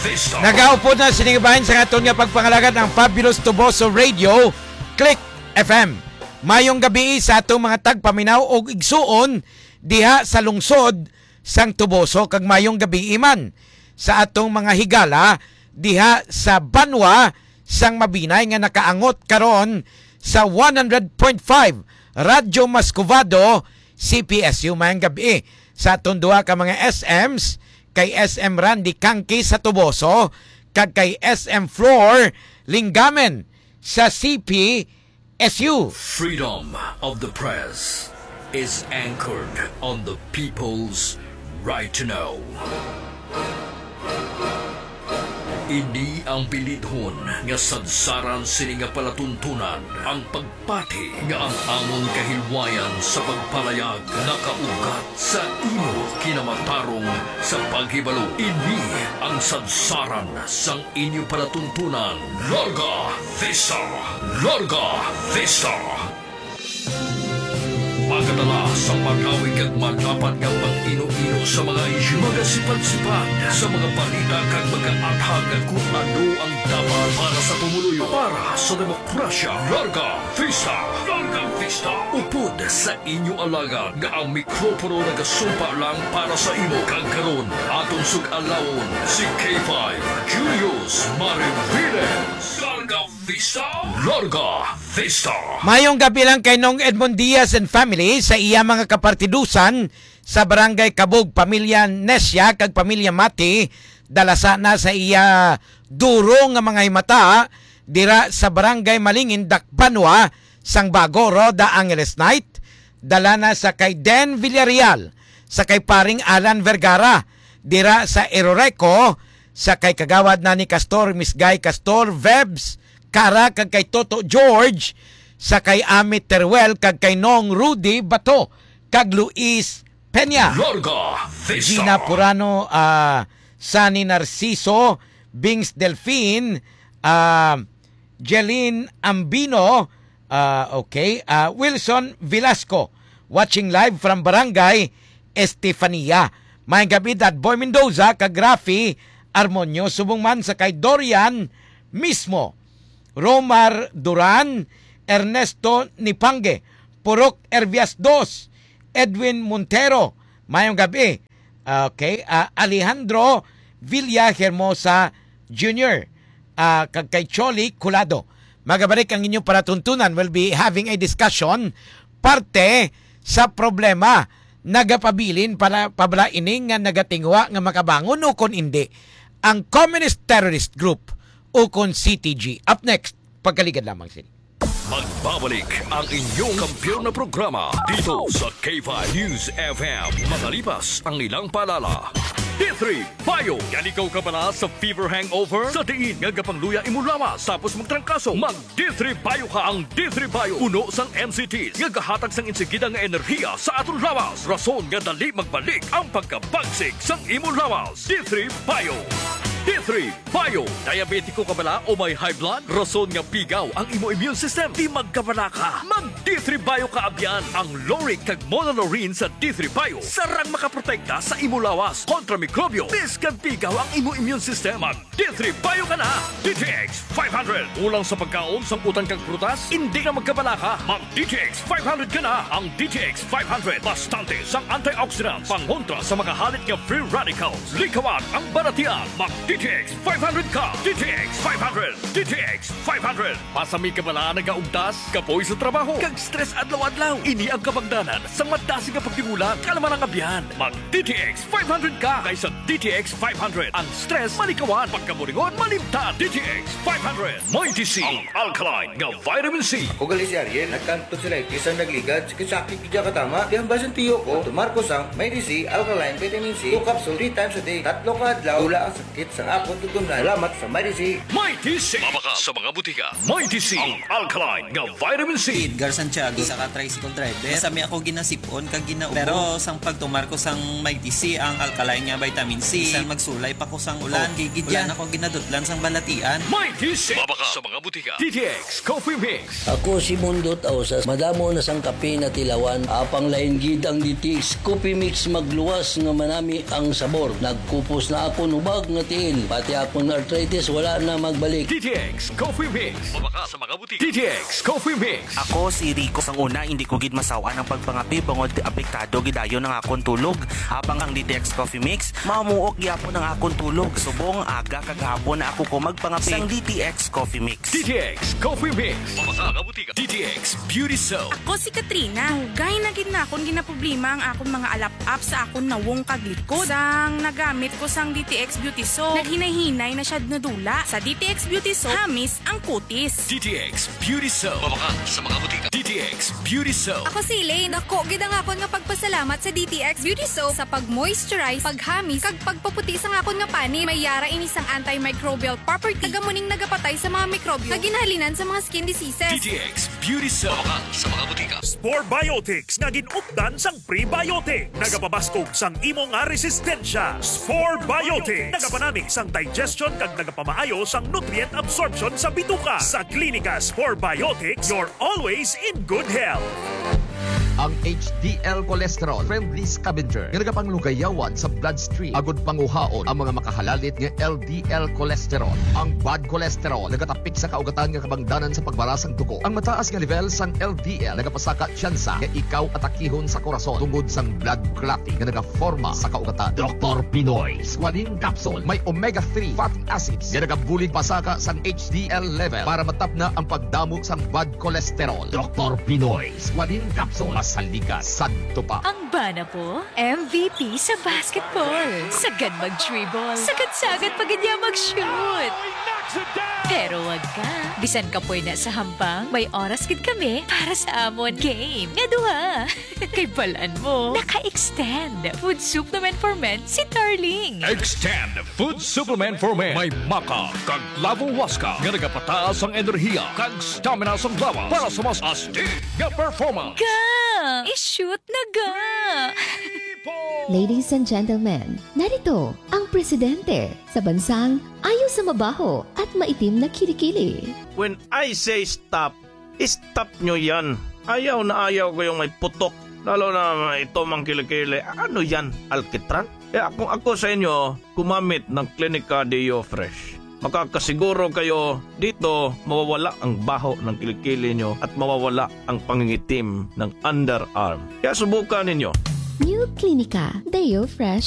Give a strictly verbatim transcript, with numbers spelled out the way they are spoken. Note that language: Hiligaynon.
Vista. Nagaupod na sini nga bahin sa aton nga pagpangalagad ang Fabulous Tuboso Radio, Click F M. Mayong gabi sa atong mga tagpaminaw ug igsuon diha sa lungsod sang Tuboso, kag mayong gabi man sa atong mga higala diha sa banwa sang Mabinay nga nakaangot karon sa one hundred point five Radyo Mascovado, C P S U. Mayong gabi sa aton duha ka mga S Ms, kay S M Randy Kangki sa Tuboso kag kay S M Flor Linggamen sa C P S U. Freedom of the press is anchored on the people's right to know. Ini ang bilidhon nga sadsaran sini nga palatuntunan, ang pagpati nga ang amon kahilwayan sa pagpalayag nakaugat sa imo kinamatarong sa paghibalo. Ini ang sadsaran sang inyo palatuntunan. Larga Vista! Larga Vista! Magadala sa magawig kag madapat nga pag-ino-ino sa mga isyu, magasipad-sipad sa mga balita kag magaathag kon ano ang dapat para sa pumuluyo, para sa demokrasya. Larga Vista! Larga Vista! Upod sa inyo alagad nga ang mikropono nagasumpa lang para sa imo. Kag karon, aton sug-alawon si K five Julius Mariviles. Larga Vista! Larga Vista! Mayong gabi lang kay Nong Edmond Diaz and family sa iya mga kapartidusan sa Barangay Kabog, pamilya Nesia kag pamilya Mati, dalasa na sa iya duro nga mga himata dira sa Barangay Malingin, Dakbanwa, sang Bago, Rhoda Angeles Knight, dala na sa kay Den Villarreal, sa kay paring Alan Vergara, dira sa Eroreco, sa kay Kagawad Nani Castor, Miss Guy Castor, Vebs, Kara, kag kay Toto George, sa kay Ami Teruel, kag kay Nong Rudy Bato, kag Luis Peña. Larga Vista. Gina Purano, ah, Sani Narciso, Bings Delfin, ah, Jeline Ambino, ah, okay, ah, Wilson Velasco, watching live from Barangay Estefania. Mayong gabi, Dad Boy Mendoza, kag Rafi Armonio, subong man sa kay Dorian mismo, Romar Duran, Ernesto Nipangue, Purok Ervias dos, Edwin Montero. Mayong gabi. Okay, ah, Alejandro Villa Hermosa Junior, ah, kag kay Choli Colado. Magabalik ang inyong palatuntunan. We'll be having a discussion parte sa problema. Nagapabilin pala, pa bala ini nga nagatinguha nga makabangon o kon indi ang Communist Terrorist Group o kon C T G. Up next, pagkaligad lamang sini. Magbabalik ang inyong kampiyon na programa dito sa K five News F M. Makalipas ang ilang paalala. D three Bio. Yan ikaw kabala sa fever hangover? Sa diin nga gapangluya imo lawas tapos magtrangkaso, mag D three Bio ka. Ang D three Bio puno sang M C Ts nga gahatag sang insigida nga enerhiya sa aton lawas, rason nga dali magbalik ang pagkabagsik sang imo lawas. D three Bio. D three Bio. Diabetiko ka bala o may high blood? Rason nga pigaw ang imo immune system. Di magkabala ka. Mag D three Bio ka abyan. Ang lauric kag monolaurin sa D three Bio sarang makaprotekta sa imo lawas kontra mikrobyo. Biskag pigaw ang imo immune system, mag D three Bio ka na. D T X five hundred. Kulang sa pagkaon, sang utan kag prutas? Hindi na magkabala ka. Mag D T X five hundred ka na. Ang D T X five hundred, bastante sang antioxidants, pangontra sa mga halit nga free radicals. Likawan ang balatian. Mag D T X five hundred ka. D T X five hundred. D T X five hundred. Pasami ka bala nagaugtas, kapoy sa trabaho, kag stress adlaw-adlaw? Ini ang kabangdanan sang madasig nga pagtingulang. Kalma lang, abyan. Mag D T X five hundred ka, kay sa D T X five hundred, ang stress malikawan, pagkaburingon malimtan. D T X five hundred. Mighty C, ang alkaline nga vitamin C. Ugali si Ariel, nagkanto sila, isang nagligad, sakit-sakit, di ka tama. Di ang basin tiyo ko, tumar ko sang Mighty C, alkaline vitamin C, two capsule, three times a day. Tatlo ka adlaw, wala ang sakit sang akon tutunlan. Salamat sa Mighty C. Mighty C. Mabakal sa mga butika. Mighty C, ang alkaline nga vitamin C. Edgar Santiago, isa ka tricycle driver. Masami ako ginasipon kag ginaubos. Pero sang pagtumar ko sang Mighty C, ang alkaline nga vitamin C, bisan magsulay pa ko sang ulan, oh, kay gidya, wala na ko ginadutlan sang balatian. Mighty C. Mabakal sa mga butika. D T X Coffee Mix. Ako si Mundot Ausas. Madamo na sang kape natilawan. Apang lain gid ang D T X Coffee Mix, magluwas nga manami ang sabor. Nagkupos na ako nubag nga tiil. Pati akong arthritis, wala na magbalik. D T X Coffee Mix. Mabakal sa mga butika. D T X Coffee Mix. Ako si Rico. Sang una, hindi ko gid masawan ang pagpangapi bangod apektado gid ayo ang akon tulog. Habang ang D T X Coffee Mix, mamuok gyapon ang akon tulog. Subong aga kag hapon na ako ko magpangapi. Sang D T X Coffee Mix. D T X Coffee Mix. Mabakal sa mga butika. D T X Beauty Soap. Ako si Katrina. Dugay na gid na akon ginaproblema ang akon mga alap-ap sa akon nawong kag likod. Sang nagamit ko sang D T X Beauty Soap, naghinay-hinay na siya nadula. Sa D T X Beauty Soap, hamis ang kutis. D T X Beauty Soap. Mabakal sa mga butika. D T X Beauty Soap. Ako si Elaine. Dako gid ang akon nga pagpasalamat sa D T X Beauty Soap sa pag-moisturize, paghamis, kag pagpaputi sang akon nga panit. May yara ini sang antimicrobial property. Nagamuning nagapatay sa mga mikrobyo nga ginhalinan sa mga skin diseases. D T X Beauty Soap. Mabakal sa mga butika. Spore Biotics nga gin-updan sang prebiotic. Nagapabaskog sang imo nga resistensya. Spore Biotics. Nagapanami sang digestion kag nagapamaayo sang nutrient absorption sa bituka. Sa Klinika Spore Biotics, you're always in good health. Ang H D L cholesterol, friendly scavenger nga nagapanglugayawan sa bloodstream agud panguhaon ang mga makahalalit nga L D L cholesterol. Ang bad cholesterol nagatapik sa kaugatan nga kabangdanan sa pagbara sang dugo. Ang mataas nga level sang L D L nagapasaka tsansa nga ikaw atakihon sa korason tungod sang blood clotting nga nagaforma sa kaugatan. Doktor Pinoy Squalene Capsule may omega three fatty acids nga nagabulig pasaka sang H D L level para matapna ang pagdamo sang bad cholesterol. Doktor Pinoy Squalene Capsule, masaligas, sadto pa. Ang bana ko, M V P sa basketball. Sagad mag-dribble, sagad-sagad pa gid niya mag-shoot. Pero wag ka, bisan kapoy na sa hampang, may oras gid kami para sa amon game nga duha. Kay balan mo, naka-extend Food Supplement for Men si Darling. Extend Food Supplement for Men. May maca kag lavo huasca nga nagapataas ang enerhiya kag stamina sang lawas para sa mas astig nga performance. Ga! I-shoot na ga! Ladies and gentlemen, narito ang presidente sa bansang ayo sa mabaho at maitim na kilikili. When I say stop, stop nyo yan. Ayaw na ayaw ko yung may putok. Lalo na ito mang kilikili. Ano yan? Alkitran? Kaya kung ako sa inyo, gumamit ng Clinica Deo Fresh. Makakasiguro kayo dito mawawala ang baho ng kilikili nyo at mawawala ang pangingitim ng underarm. Kaya subukan ninyo. New Clinica Deo Fresh